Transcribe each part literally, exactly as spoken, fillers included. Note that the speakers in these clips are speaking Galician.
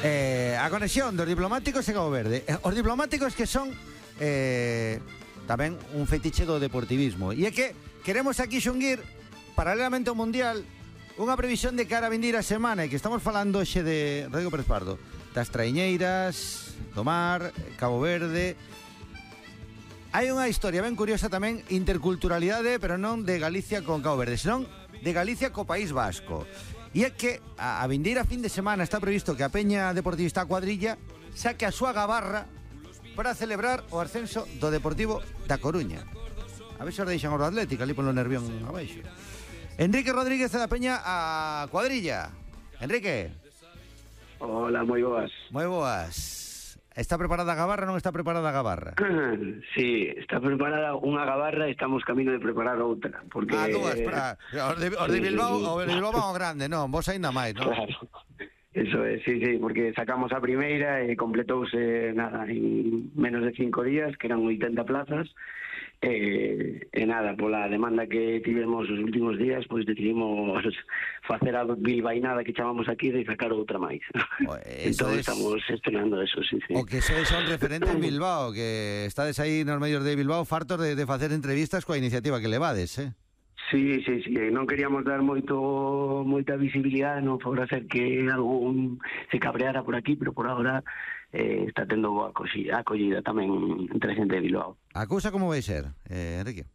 Eh, a conexión dos diplomáticos e Cabo Verde. Os diplomáticos que son eh, tamén un fetiche do deportivismo. E é que queremos aquí xunguir, paralelamente ao Mundial, unha previsión de cara a vindir a semana, e que estamos falando xe de Rodrigo Pérez Pardo, das traiñeiras, do mar, Cabo Verde. Hai unha historia ben curiosa tamén, interculturalidade, pero non de Galicia con Cabo Verde, senón de Galicia co País Vasco. E é que a, a vindeira fin de semana está previsto que a Peña Deportivista Cuadrilla saque a súa gabarra para celebrar o ascenso do Deportivo da Coruña. A ver se os deixan o Atlético ali polo Nervión abaixo. Enrique Rodríguez da Peña a Cuadrilla. Enrique. Hola, moi boas. Moi boas. Está preparada a gabarra ou non está preparada a gabarra? Sí, está preparada unha gabarra e estamos camino de preparar outra. Porque... Ah, dúas, para... Os de, os de Bilbao, sí, os de Bilbao van ao grande, non? Vos aínda máis, non? Claro. Eso é, sí, sí, porque sacamos a primeira e completouse, nada, en menos de cinco días, que eran oitenta plazas, e, e nada, pola demanda que tivemos os últimos días, pois decidimos facer a bilbainada que chamamos aquí de sacar outra máis. Entón es... estamos estrenando eso, sí, sí. O que sois son referentes en Bilbao, que estades aí nos medios de Bilbao fartos de, de facer entrevistas coa iniciativa que levades, eh? Sí, sí, sí, non queríamos dar moito moita visibilidade, non por hacer que algún se cabreara por aquí, pero por agora eh, está tendo boa acollida, acollida tamén entre a xente de Bilbao. A cousa como vai ser, eh, Enrique?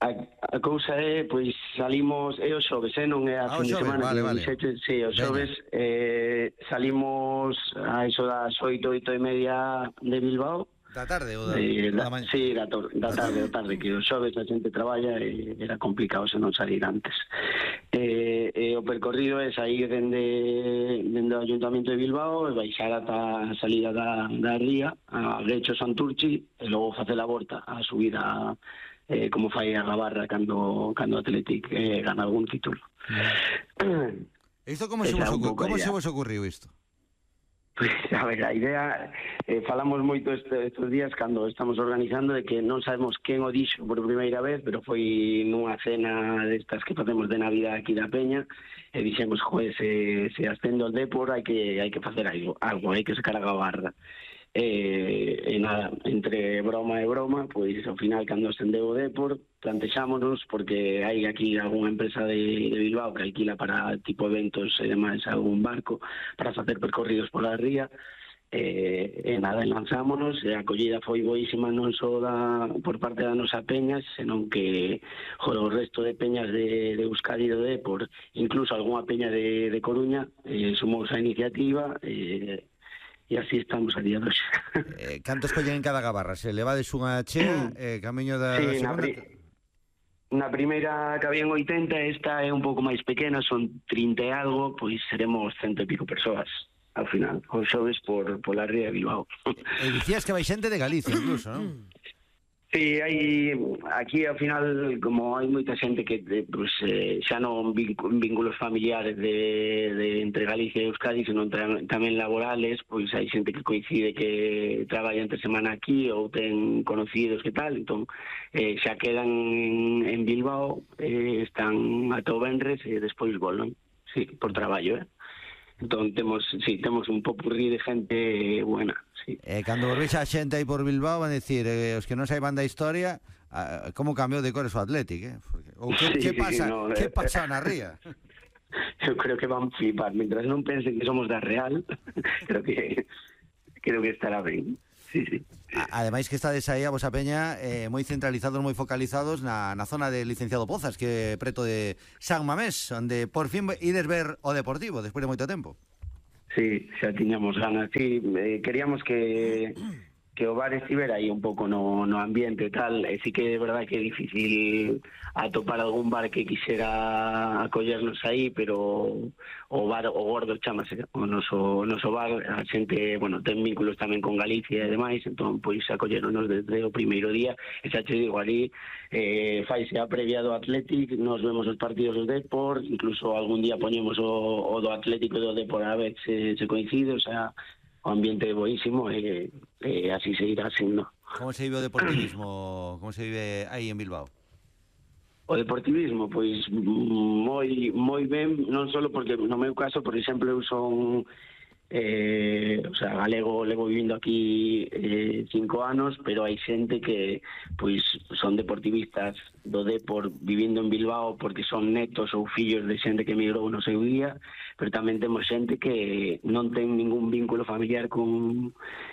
A, a cousa é, pois, salimos, é o xoves, eh, non é a ah, fin de semana. Vale, vale. Dixete, sí, o xoves eh, salimos a iso das oito, oito e media de Bilbao. Da tarde ou da, eh, da, da mañá? Sí, da, tor- da tarde, da tarde, que o xoves a xente traballa e era complicado se non salir antes. Eh, eh, o percorrido é sair dende, dende o Ayuntamiento de Bilbao e baixar ata a salida da, da ría, a Grecho Santurchi, e logo facer a volta, a subida eh, como fai a Gabarra cando, cando o Athletic eh, gana algún título. Mm. Isto como, se vos, ocu- como se vos ocurriu isto? Pues, a ver, a idea, eh, falamos moito este, estes días cando estamos organizando de que non sabemos quen o dixo por primeira vez, pero foi nunha cena destas que facemos de Navidad aquí da Peña, e dixemos, joder, se, se ascende o Depor hai que hai que facer algo, algo hai que sacar a gabarra. E, e nada, entre broma e broma, pois ao final cando ascendeu o Depor plantexámonos, porque hai aquí algunha empresa de, de Bilbao que alquila para tipo eventos e demais algún barco para facer percorridos pola ría, e, e nada, lanzámonos, e a acollida foi boísima non só da, por parte da nosa peña, senón que joder, o resto de peñas de, de Euskadi do Depor, incluso algunha peña de, de Coruña eh, sumou a iniciativa, e e así estamos a día de hoxe. Eh, cantos collen en cada gabarra? Se levades unha chea, eh, camiño da sí, segunda... Na, pri na primeira que habían oitenta, esta é un pouco máis pequena, son trinta e algo, pois seremos cento e pico persoas ao final, os xoves por, por la ría de Bilbao. E dicías que vai xente de Galicia incluso, non? Sí, hai aquí ao final, como hai moita xente que pues, eh, xa non vínculos familiares de, de entre Galicia e Euskadi, senón tamén laborales, pois hai xente que coincide que traballa entre semana aquí ou ten conocidos que tal, entón eh, xa quedan en, en Bilbao, eh, están ata o venres e despois volven, sí, por traballo, eh? Entón temos, sí, temos un popurrí de gente buena. Sí. Eh, cando volvéis a xente aí por Bilbao van a decir, eh, os que non saiban da historia, ah, como cambiou de cores o Athletic, eh? Porque, ou que, sí, que pasa, sí, no, que eh, pasa na ría? Eu creo que van flipar, mientras non pensen que somos da Real, creo que creo que estará ben. Sí, sí. Ademais que estades aí a vosa peña eh, moi centralizados, moi focalizados na, na zona de Licenciado Pozas, que é preto de San Mamés, onde por fin ides ver o Deportivo despois de moito tempo. Sí, xa tiñamos ganas, sí, eh, queríamos que que o bar estivera aí un pouco no, no ambiente e tal, e sí que é verdade que é difícil atopar algún bar que quixera acollernos aí, pero o bar, o Gordo chamase o noso, o noso bar, a xente, bueno, ten vínculos tamén con Galicia e demais, entón, pois, acolleronos desde o primeiro día, e xa che digo, ali eh, faise a previa do Athletic, nos vemos os partidos do Depor, incluso algún día poñemos o, o do Atlético e do Depor a ver se, se coincide, o sea, o ambiente é boísimo e, e así seguirá sendo. Como se vive o deportivismo, como se vive aí en Bilbao? O deportivismo, pois moi moi ben, non só porque no meu caso, por exemplo, eu son Eh, o sea, galego levo vivindo aquí eh, cinco anos, pero hai xente que pois son deportivistas do Depor vivindo en Bilbao porque son netos ou fillos de xente que emigrou no seu día, pero tamén temos xente que non ten ningún vínculo familiar con,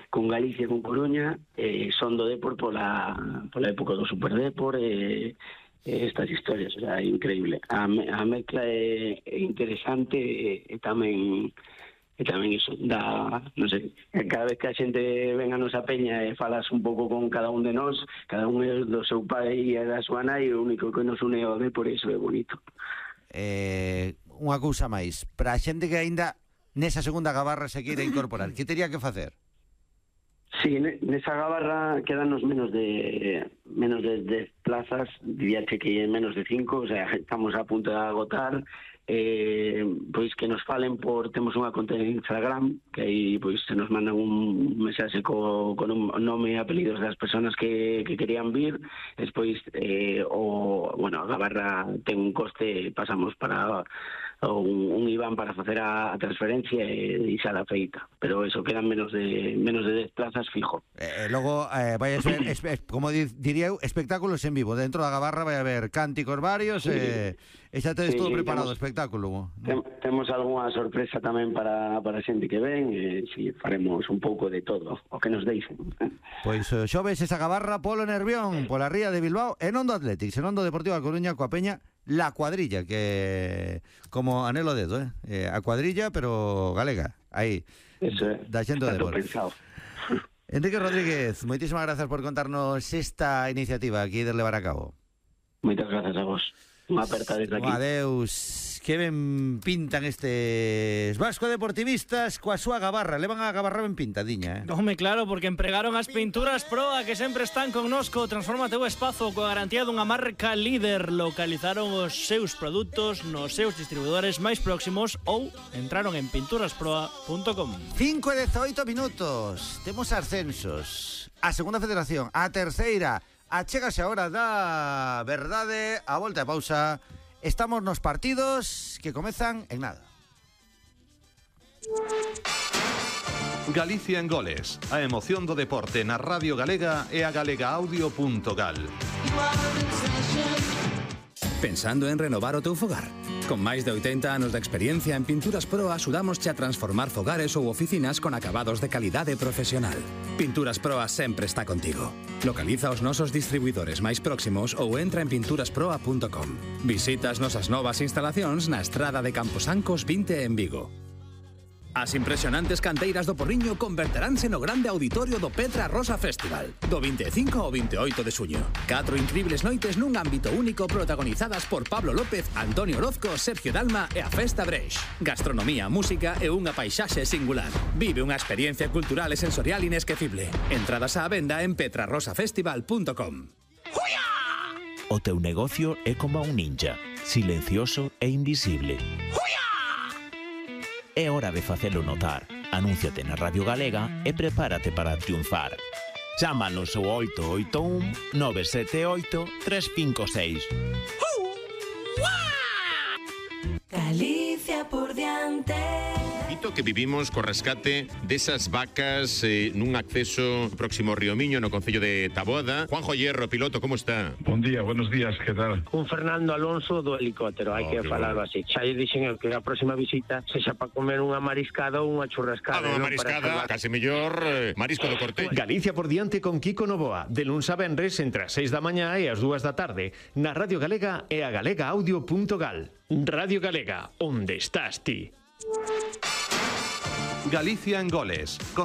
con Galicia, con Coruña, eh, son do Depor pola, pola época do Super Depor, e eh, estas historias, o sea, é increíble. A, a mezcla é, é interesante e, e tamén e tamén iso dá, non sei, cada vez que a xente ven a nosa peña e falas un pouco con cada un de nós, cada un é do seu pai e da súa nai, o único que nos une ao de por iso é bonito. Eh, unha cousa máis, para a xente que aínda nesa segunda gabarra se queira incorporar, que teria que facer? Sí, nesa gabarra quedanos menos de menos de dez plazas, diría que que menos de cinco, o sea, estamos a punto de agotar. Eh, pois que nos falen por, temos unha conta en Instagram que aí pois se nos mandan un mensaxe co, con un nome e apelidos das persoas que, que querían vir, despois eh, o, bueno, a gabarra ten un coste, pasamos para un, un I B A N para facer a, a transferencia e, e xa la feita, pero eso, quedan menos de menos de dez plazas fijo. Eh, logo eh, vai a ser, es, como diría eu, espectáculos en vivo, dentro da gabarra vai haber cánticos varios, sí. eh, e xa tedes sí, todo preparado, temos, espectáculo. Tem, temos algunha sorpresa tamén para, para a xente que ven, e si faremos un pouco de todo, o que nos deixen. Pois eh, xoves esa gabarra polo Nervión, pola ría de Bilbao, e non do Atlético, senón do Deportivo da Coruña coa peña La Cuadrilla, que como anelo dedo, eh? eh a cuadrilla, pero galega, aí. Eso é, da xente do Depor. Pensado. Enrique Rodríguez, moitísimas grazas por contarnos esta iniciativa aquí de levar a cabo. Moitas grazas a vos. Unha aperta desde aquí. Adeus. Que ben pintan estes vasco deportivistas coa súa gabarra. Levan a gabarra ben pintadiña, eh? Home, claro, porque empregaron as pinturas Proa que sempre están connosco. Transforma teu espazo coa garantía dunha marca líder. Localizaron os seus produtos nos seus distribuidores máis próximos ou entraron en pinturas proa punto com. cinco e dezaoito minutos. Temos ascensos. A segunda federación, a terceira. Achégase a hora da verdade. A volta e pausa. Estamos nos partidos que comezan en nada. Galicia en goles. A emoción do deporte na Radio Galega e a galegaaudio punto gal. Pensando en renovar o teu fogar? Con máis de oitenta anos de experiencia en Pinturas Proa, axudámosche a transformar fogares ou oficinas con acabados de calidade profesional. Pinturas Proa sempre está contigo. Localiza os nosos distribuidores máis próximos ou entra en pinturas proa punto com. Visita as nosas novas instalacións na estrada de Camposancos vinte en Vigo. As impresionantes canteiras do Porriño converteránse no grande auditorio do Petra Rosa Festival do vinte e cinco ao vinte e oito de xuño. Catro incribles noites nun ámbito único protagonizadas por Pablo López, Antonio Orozco, Sergio Dalma e a Festa Breix. Gastronomía, música e unha paisaxe singular. Vive unha experiencia cultural e sensorial inesquecible. Entradas á venda en petra rosa festival punto com. O teu negocio é como un ninja, silencioso e invisible. É hora de facelo notar. Anúnciate na Radio Galega e prepárate para triunfar. Chámanos ao oito oito un nove sete oito tres cinco seis. Galicia por diante. Dito que vivimos co rescate desas vacas eh, nun acceso próximo ao Río Miño no concello de Taboada. Juanjo Hierro, piloto, como está? Bon día, buenos días, que tal? Un Fernando Alonso do helicóptero, hai Oh, que que falarlo bueno. así. Xa lle dixen eu que a próxima visita sexa para comer unha mariscada ou unha churrascada. Ah, unha non mariscada, para case mellor eh, marisco do corte. Galicia por diante con Kiko Novoa, de luns a venres entre as seis da mañá e as dúas da tarde, na Radio Galega e a galegaaudio punto gal. Radio Galega, onde estás ti? Galicia en goles. Con